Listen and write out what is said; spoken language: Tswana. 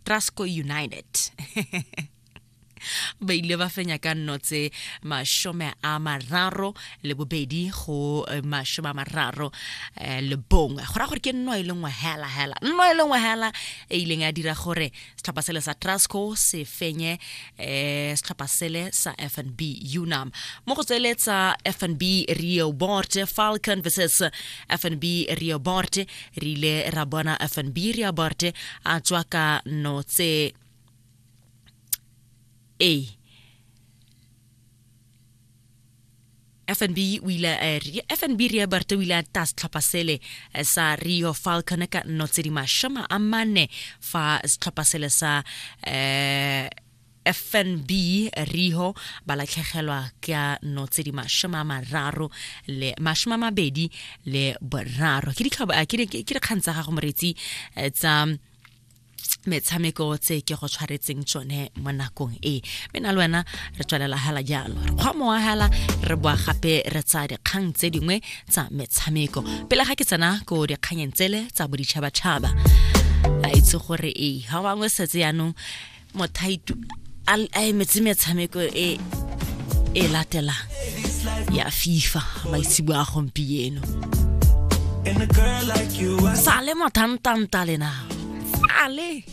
Trasco United ba ile ba fenya ka nno tse 32 go 31. Go raya gore ke nno e le nngwe hela hela, nno e le nngwe hela e ileng ya dira gore setlhopha sele sa Trasco se fenye setlhopha sele sa FNB Unam. Mo go tsele tsa FNB Rehoboth, Falcon versus FNB Rehoboth, re ile ra bona FNB Rehoboth a tswa ka no tse a FNB o ile FNB Rehoboth o ile a ta setlhopha sele sa Rio Falcon ka nno tse di 40 fa setlhopha sele sa FNB Rio ba latlhegelwa ka nno tse di 33 le 23. Ke dikgang tsa gago moretsi tsa metshameko tse ke go tshwaretseng tsone mo nakong e. Mme na le wena re tswelela hela jalo, re kgwa mowa hela, re boa gape re tsaya dikgang tse dingwe tsa metshameko pele ga ke tsena ko dikganyeng tsele tsa boditšhabatšhaba. A itse gore ee ga bangwe setse yaanong mothaitu a emetse metshameko e e latelang ya FIFA maitsebo a gompieno. Sale mothantanta lena sale.